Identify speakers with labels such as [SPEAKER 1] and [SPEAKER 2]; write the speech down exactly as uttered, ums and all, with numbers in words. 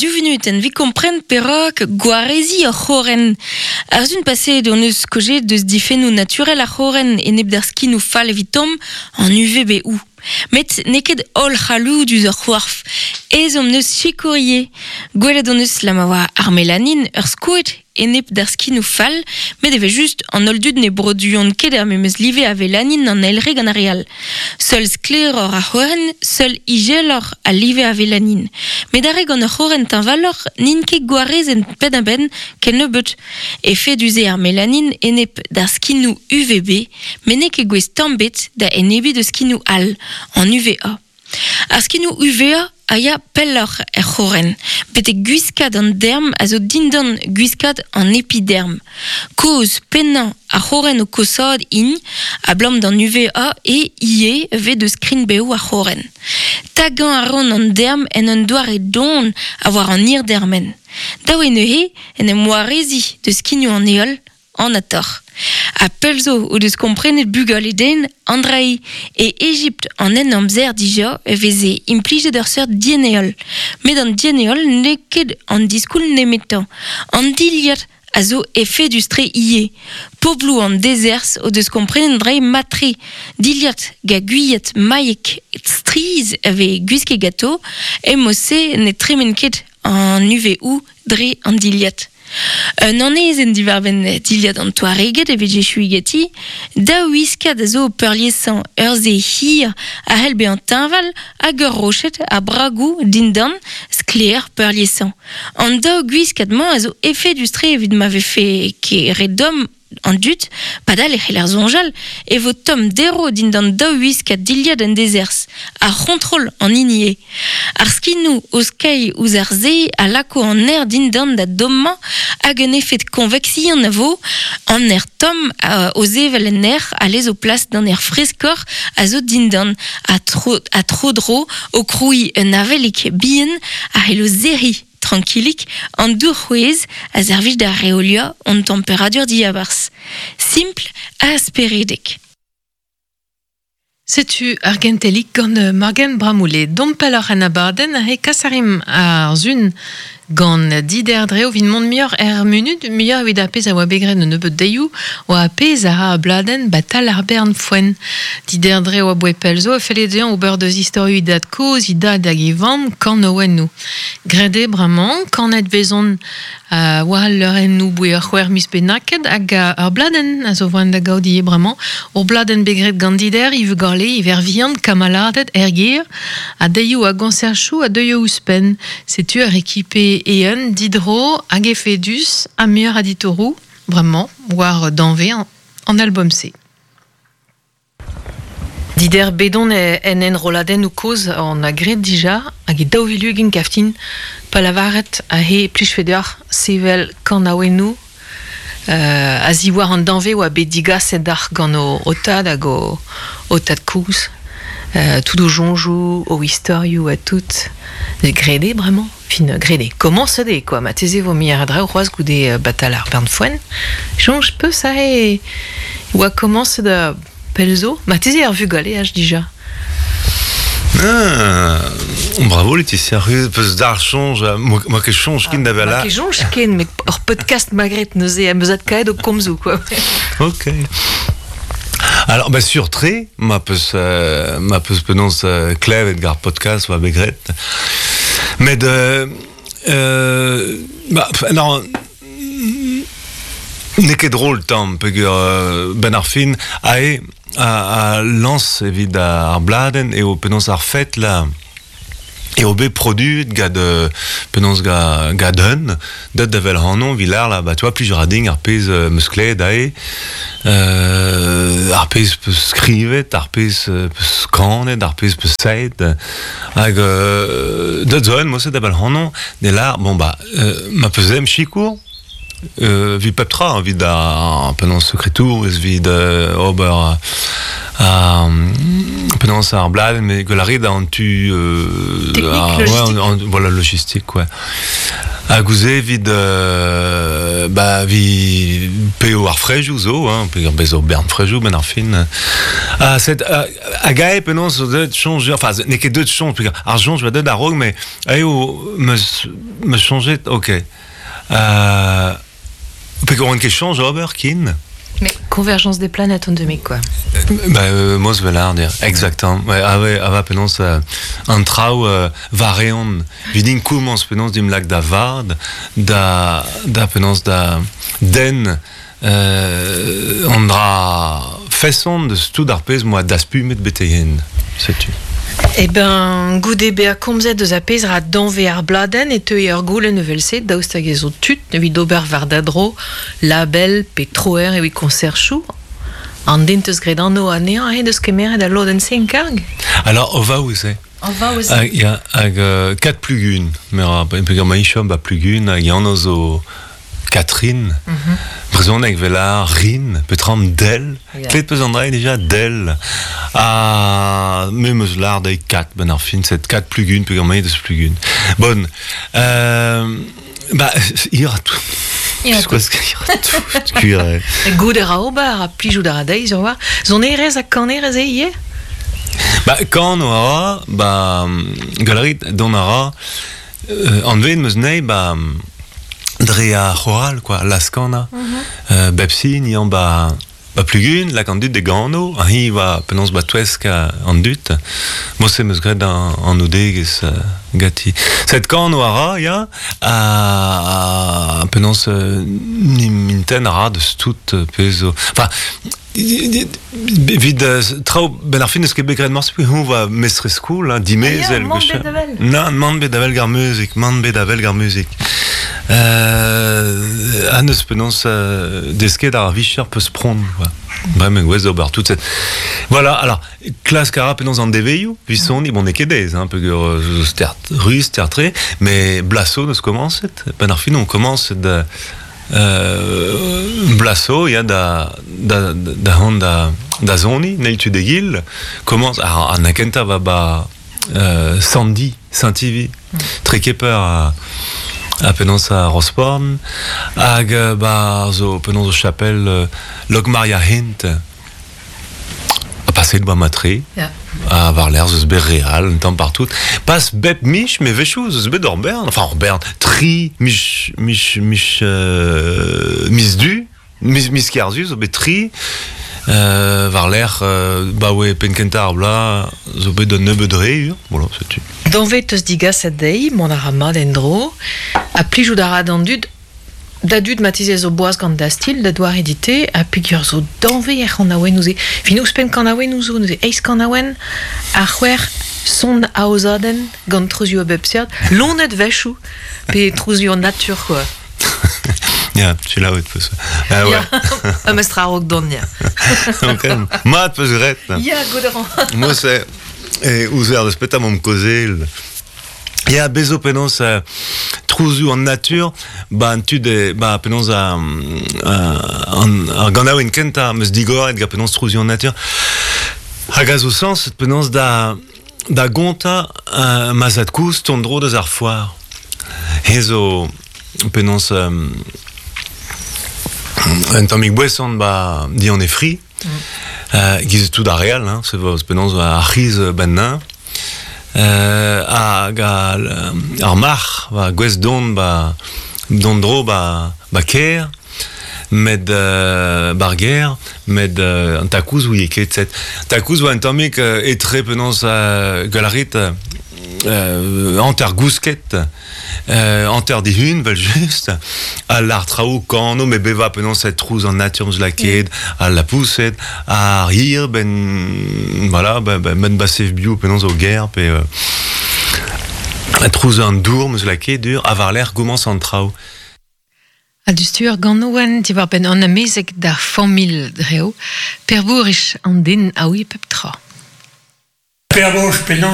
[SPEAKER 1] Du vinuten vi kompren perak gwarezi ar c'horen. Ar zun paset on eus kojet deus difennoù naturel ar c'horen enep d'ar skinoù fall evitom an U V B ou. Met n'eo ket holl c'halloudus ar c'hoarf. Ez omp neus sikourier. Gwelet on eus la ma oa ar melanin ur skoed enep d'ar skinoù fall, met eve just an holl dud ne broduont ket ar memes live a velanin an elre gant ar real. Seul sklaeroc'h ar c'horen, seul izeloc'h a live a velanin. Met ar re gant ur c'horen teñvaloc'h n'int ket gwarezenn penn-a-benn ken nebeut. Efedus eo ar melanin enep d'ar skinoù U V B, met n'eo ket gouest tamm bet da enebiñ da skinoù all, an U V A. Ar skinoù U V A a ya pelloc'h er c'horen, betek gwiskad an derm a zo dindan gwiskad an epiderm. Koz pennañ ar c'horen o kosaat int, a blam d'an U V A e ie ve deus skrin-bev ar c'horen. Tagañ a ran an derm en un doare don a war an hirdermen. Daou eo neuze en em warezi deus skinoù an heol, an ator. A pell zo o deus komprenet bugale den Andrei e Egipt an en amzer dija e veze implijet ur seurt dieneol. Met an dieneol n'eo ket an diskoul nemetañ. An dilhad a zo efedus-tre ivez. Pobloù an dezerzh o deus komprenet dre matre. Dilhad ga gwiad mailhek striz a vez gwisket ganto, e-mod-se ne tremen ket an U V O dre an dilhad. Un anezenn diwar-benn dilhad an Touareged evit Jesu geti, daou wiskad a zo peurliesañ ur se hir a c'hell bezañ teñval hag ur roched a bragoù dindan sklaer peurliesañ. An daou gwiskad-mañ a zo efedus-tre evit ma vefe ket re domm an dud, padal e c'heller soñjal e vo tomm dero dindan daou wiskad dilhad en dezerzh, ar c'hontrol an hini eo. Ar skinoù o skeiñ ouzh ar se a lako an aer dindan da dommañ hag un efed konveksion a vo, an aer tomm o sevel en aer a lez o plas d'an aer freskoc'h a zo dindan a tro, a tro-dro o krouiñ un avelik bihan a c'hello serriñ trankilik an dour c'hwez a servij da reoliañ an temperadur diabarzh. Simpl ha speredek.
[SPEAKER 2] Setu ar gentelik gant Morgan Bramoulet. Dom pelloc'h an abadenn a he kasarim ar zun gant Dider Dreo vin mont muioc'h er munut, muioc'h evit ar pezh a oa bet graet un nebeud deioù, oa ar pezh a ra a bladenn batal ar bern foenn. Dider Dreo a boe pell zo a felle dezhañ ober deus istorioù e dad kozh, e dad hag e vamm, kanaouennoù. Graet eo bremañ, kanet vezont uh, war al leurennoù boe ur c'hwec'h miz bennaket hag ur bladenn a zo voan da gaout ivez bremañ. Ur bladenn bet graet gant Dider, Yves Garlé, Yves Vian, kamaladed, ergir, a deioù a goñserchoù a deuioù ouzhpenn. Setu ar ekipe eeun, didro, hag efedus, ha muioc'h a ditoroù, bremañ, war danve an, an album-se. Dider bedon en enroladennoù kozh an a graet dija, hag e daou vil ugent kaftin, pa lavaret a he plijfe deoc'h sevel kanaouennoù, euh, a ziwar an danve oa bet digaset d'ar gant o, o tad hag o, o tad kozh. Euh, tout o soñjoù, o istorioù ha tout. Graet eo bremañ. Fin, graet eo. Komañset eo, quoi. Ma teze vo muioc'h a draoù c'hoazh goude batal ar bern foenn. Soñj peus a e oa komañset da pell zo. Ma teze ar vugaleaj dija.
[SPEAKER 3] Ah, bravo Laetitia, peus d'ar soñj, moi ket soñj ken da vel
[SPEAKER 2] Ma ket soñj ken, met ur podcast magret neuze am eus adkaet o komzoù, quoi.
[SPEAKER 3] Ok. Alors, bah, sur tre, ma peus, euh, ma peus penons euh, klevet gar podcast oa bet graet. Met, euh, euh, bah, non, n'eo ket drôle tamm, peogwir euh, ben ar fin, ae a, a lañs evit ar bladenn eo penaos ar fet la eo bet produet gant euh, penaos ga, gant un, deut da vel hanon, vilar la, bah, tu vois, plusieurs a ding ar pezh euh, meus klevet ae, euh, ar pezh peus skrivet, ar pezh peus kanet, ar pezh peus saet, hag euh, deut zo un, moset da vel hanon, ne lar, bon bah, euh, ma peus em sikour, euh, vit pep tra, evit ar penaos sekretour, ez vit euh, ober euh, penaos ar bladenn, met gwell a rit an tu euh,
[SPEAKER 2] Technique,
[SPEAKER 3] ar,
[SPEAKER 2] logistique.
[SPEAKER 3] ouais, an, voilà, logistique, ouais. Hag ouze evit euh, ba vi peo ar frejou zo, hein, pe ur bezo bern frejou ben ar fin. Ah, set, uh, hag ae penaos zo deut chonj, enfin, n'eo ket deut chonj, pe ar chonj va deut a-raok, mais ae o meus, meus chonjet, ok. Euh, pe oan ket chonj ober kin.
[SPEAKER 2] Mais convergence des planètes on demi quoi.
[SPEAKER 3] Bah, euh, mos vel dir, exactement. Ouais, ah ouais, ah va penaos euh, an traoù euh, vareon. Vidin koumans penaos dim lak da vard, da, da penaos da den euh, an dra feson de tout ar pezh moa daspumet betegen. Setu.
[SPEAKER 2] Eh ben, goude bea komzet deus a pezh ra danve ar bladen e teu ur goulenn evel-se daoust hag ez zo tud evit ober war da dro label pe troer evit konserchoù. An den teus graet anv anezhañ he deus kemeret al lodenn se en karg?
[SPEAKER 3] Alors, o va ouze.
[SPEAKER 2] O va ouze.
[SPEAKER 3] Hag, ya, hag euh, kat plugun. Mer a, peogwir ma ichom ba plugun hag yann zo Catherine. Mm -hmm. Brezhoneg vel ar rin, petram del. Yeah. Klet peus an dra déjà del. Ha me meus lar dezhi kat ben ar fin, set kat plugun, peogwir ma deus plugun. Bon. Euh, ba, ir a tout.
[SPEAKER 2] Ir a
[SPEAKER 3] tout. Kuir.
[SPEAKER 2] Gout a ra ober, a plijout a ra dezhi, sur war. Sonerezh ha kanerezh eo ivez?
[SPEAKER 3] Ba, kan a ra, ba, galerit don a ra, euh, anvet meus nei, ba, dre ar c'horal, quoi, laskana. Mm -hmm. euh, bep sin, yan ba, ba plugun, lak an dud de gano, ha hi va penaos ba touesk an dud. Mo se meus graet an, an oudegez uh, gati. Set kano a ra, ya, a, a penaos euh, nim minten a ra deus tout pezh zo. Enfin, Evit traoù ben ar fin eus ket bet graet morse hon va mestrez skol, hein, dimezel.
[SPEAKER 2] Ah, ya, man bet avel.
[SPEAKER 3] Nan, man bet avel gar muzik, man bet avel gar muzik. Euh, an eus penaos euh, desket ar vicher peus pront, quoi. Bremañ gwez d'ober tout cette... Voilà, alors, klask a ra penaos an deveioù, vi soni, bon, n'eo ket aes, hein, peogwir zo stert ruz, stert-tre, mais blaso neus komañset. Ben ar fin on komañs da... Euh, blaso, ya, da, da, da hont da, da zoni, neil tu degil, komañs, ar, an akenta va ba euh, Sandy, Saint-Ivy, mm. Trekeper a, a penaos a Rosporn, hag ba zo penaos o chapel euh, Locmaria Hint, a paset ba matre,
[SPEAKER 2] yeah.
[SPEAKER 3] A war l'air zeus bet real, un tamm partout. Pas bep mich, mais vechou zeus bet ur bern, enfin ur bern, tri, mich, mich, mich, euh, mis du, mis, mis kerzu, zo bet tri, euh, war l'air, euh, ba oe penkenta ar bla, zo bet un nebeud re, ur, voilà, setu.
[SPEAKER 2] Danve teus digaset dezhi, mont a ra mat en-dro, ha plijout a ra d'an dud, da dud matize zo boaz gant da stil, da doar edite, ha peogwir zo danve er c'hanaouenn ouze. Fin ouzhpenn kanaouenn ouzo, neuze eizh kanaouenn, ar c'hwec'h son aozadenn gant trouzioù a bep seurt, lonet wechoù, pe trouzioù an natur, quoi.
[SPEAKER 3] Ya, tu la out peus. Ah ouais.
[SPEAKER 2] Ya, ha mestra a-raok dont, ya.
[SPEAKER 3] Ok. Mat peus graet.
[SPEAKER 2] Ya, gout a ran.
[SPEAKER 3] Mo se, e ouzer deus petra momp kaozeal. Ya, bezo penaos euh, trouzioù an natur, ba an tud e, ba penaos a, an, ar ganaouenn kentañ meus digoret ga penaos trouzioù an natur. Hag a zo sens penaos da da gontañ euh, ma zad-kozh tont dro deus ar foar. He zo penaos euh, un tammig boeson ba di an e fri, mm. euh, giz tout ar real, hein, se vo penaos ar c'hiz ben nain. Euh, hag ar, ar marc'h ba gwez don ba don dro ba ba ker met euh, bar ger met euh, an takouz ouie ket set takouz oa un tammig euh, etre penaos euh, galarit euh, hanter gousket euh, hanter dihun vel just a l'ar traoù kano me beva penaos set trouz an natur eus la ket a la pousset a rir ben voilà ben, ben, ben basev bio penaos o ger pe euh, a trouz an dour meus la ket dur a war l'air goumans an traoù.
[SPEAKER 2] Ha du ur ganouen diwar benn an amezeg d'ar familh dreo, perbourich an den a oui pep tra.
[SPEAKER 4] Perbourich penaos